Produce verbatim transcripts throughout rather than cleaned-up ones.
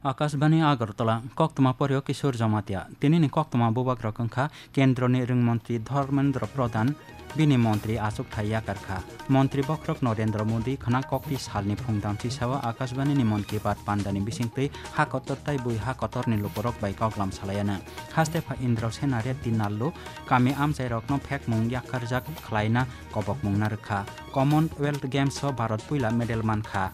Akashbani Agartala, koktwma poryo Kishore Jamatia. Tinini koktwma bubagrok wngkha Kendroni Rwngmontri Dharmendra Pradhan, bini montri achukthai yakarkha. Montri bokhorok Narendra Modi khwna kokti salni phungdamchi sao Akashbanini Mann Ki Baat pandani bisingtwi ha kotor tai bui ha kotorni lukurok bai koklam salaiano. Haste pha Indrasena Reddy Nallu kami amchairokno phekmung yakarjak khlaina kobokmung narwkha. Commonwealth Games o Bharat puila medal mankha.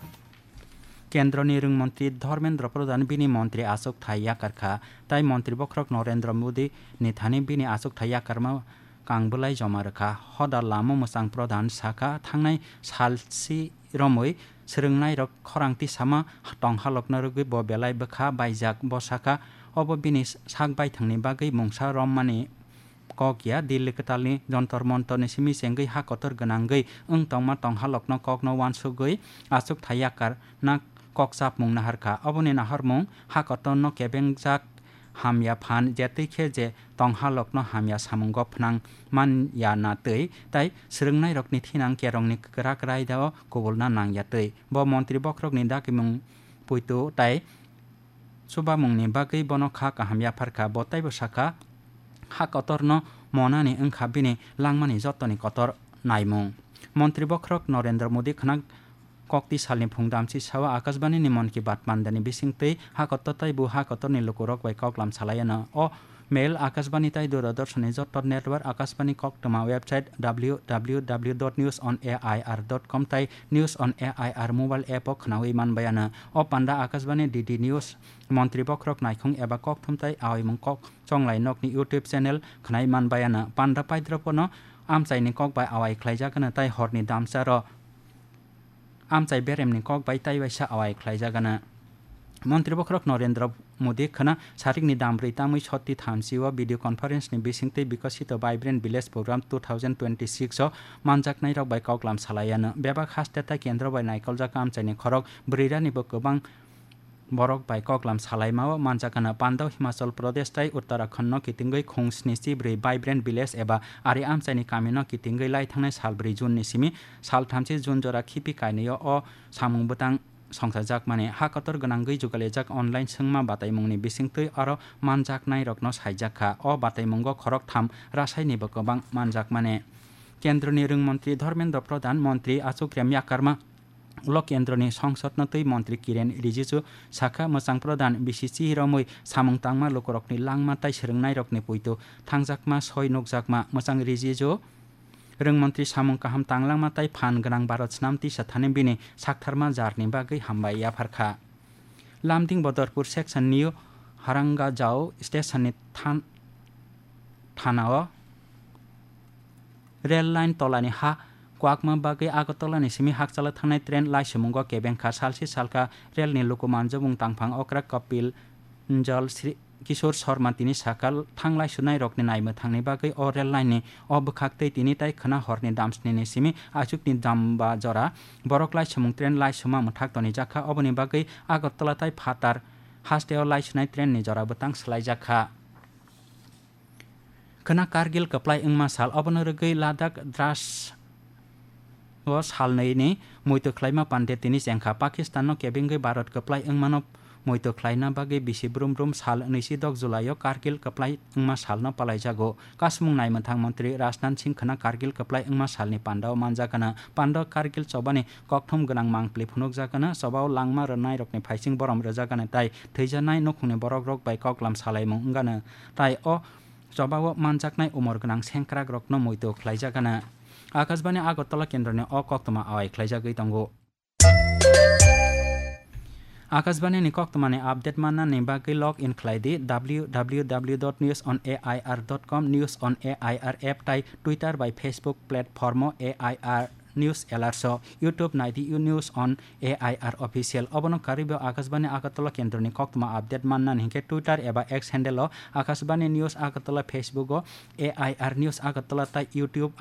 Kendroni Rwngmontri Dharmendra Pradhan bini montri achukthai yakarkha, tai montri bokhorok Narendra Modi ni thani bini achukthai yakarma kangbwlai joma rwkha. Hoda lama mwchang Pradhan sakha, thangnai salsi romwi swrwngnairok khorang tisama tonghalokno rwgwi bo belai bwkha baijak. Bo sakha, obo bini sak baithangni bagwi mungsa rommani kok ya, Delhi kwtalni Jantar Mantarni simi chengwi ha kotor gwnangwi wng tongma tonghalokno kokno uansugwi achukthai yakarna kok chapmung naharkha. Oboni naharmung ha kotorno kebengjak hamya phan, jetwi khe je tonghalokno hamya samungo phnang man ya na twi, tai swrwngnairokni thinang kerongni kwrak raida o kubulna nang ya twi. Bo montri bokhorokni dakimung puitu tai chubamungni bagwi bono kha kaham yapharkha. Bo taibo sakha, ha kotorno monani wngkha bini langmani jotoni kotor naimung. Montri bokhorok Narendra Modi khwna kokti salni phungdamchi sao Akashbanini Mann Ki Baat pandani bisingtwi ha kotor tai bu ha kotorni lukurok bai koklam salaiano. O mail Akashbani tai Doordarshanni joto network, Akashbani koktwma website W W W dot news on A I R dot com tai News on A I R mobile app o khwnawi manbaiano. O panda Akashbani D D News, montri bokhorok naikhung eba kokthum tai aoimung kok chonglai nokni YouTube channel khwnai manbaiano. Panda paidropono amchaini kok bai awai khlaijakano tai horni damcharo amchai beremni kok bai tai waisa awai khlaijagano. Montri bokhorok Narendra Modi khwna sarikni dambrwi tamwi sotti thamchi o video conference ni bisingtwi Bikasito Vibrant Village Program two thousand twenty-six o manjaknairok bai koklam salaiano. Bebak haste tai kendro bai naikoljak amchaini khorok bwrwiranibo kwbang borok bai koklam salaima o manjakano. Pandao Himachal Pradesh tai Uttarakhand no kitingwi khung sni chi bwrwi Vibrant Village eba ari amchaini kami no kitingwi lai thangnai sal bwrwi June ni simi sal thamchi June jora khipi kainwi o samung bwtang songchajakmani. Ha kotor gwnangwi jugalijak online swngma bataimungni bisingtwi aro manjaknairokno saijakha. O bataimungo khoroktham rasainibo kwbang manjakmani. Kendroni Rwngmontri Dharmendra Pradhan, Montri Achuk Remya Karma ulo kendroni songsodno twi Montri Kiren Rijiju sakha, mwchang Pradhan bisi chihiromwi samung tangma lukurokni langma tai swrwngnairokni puitu thangjakma soi nukjakma. Mwchang Rijiju Rwngmontri samung kaham tanglangma tai phan gwnang Bharat snam tisa thani bini saktharma jarni bagwi hambai yapharkha. Lamding Bodorpur section New Harangajao station ni than-, thana o rail line tolani ha kwakma bagwi Agartala ni simi hakchala thangnai train laisumungo kebengkha. Salsi salka rail ni luku manjabung tangphang okra Kapil Njal Sri Kishore Sharma tini sakha, thanglai sunai rokni naimwthangni bagwi o rail line ni o bwkhak tei tini tai khwna horni damsni ni simi achukni damba jora borok laisumung train laisuma mwthak tonijakha. Oboni bagwi Agartala tai phatar hasteo laisunai train ni jora bwtang swlaijakha. Khwna Kargil kwplai wngma sal, obono rwgwi Ladakh Dras o salnwi ni muitu khlaima pande tini chengkha. Pakistan no kebengwi Bharat kwplai wngmano muitu khlaina bagwi bisi brum brum sal nwisidok July o Kargil kwplai wngma salno palaijago. Kasmung naimwthang montri Rajnath Singh khwna Kargil kwplai wngma salni pandao manjakano. Pandao Kargil chobani kokthum gwnang mangpli phunukjakano, chobao langma rwnairokni phaising borom rwjakano tai thwijanai nukhungni borokrok bai koklam salaimung wngano. Tai o chobao manjaknai umor gwnang sengkrakrokno muitu khlaijakano. Akashbani Agartala kendroni o koktwma awai khlaijagwi tongo. Akashbani ni koktwmani update mannani bagwi log in khlai di W W W dot news on A I R dot com, News on A I R app tai Twitter bai Facebook platform o A I R News Alerts o, YouTube nai di News on A I R Official. Obono karwibo Akashbani Agartala kendroni koktwma update mannani hinkhe Twitter eba X handle o Akashbani News Agartala, Facebook o A I R News Agartala tai YouTube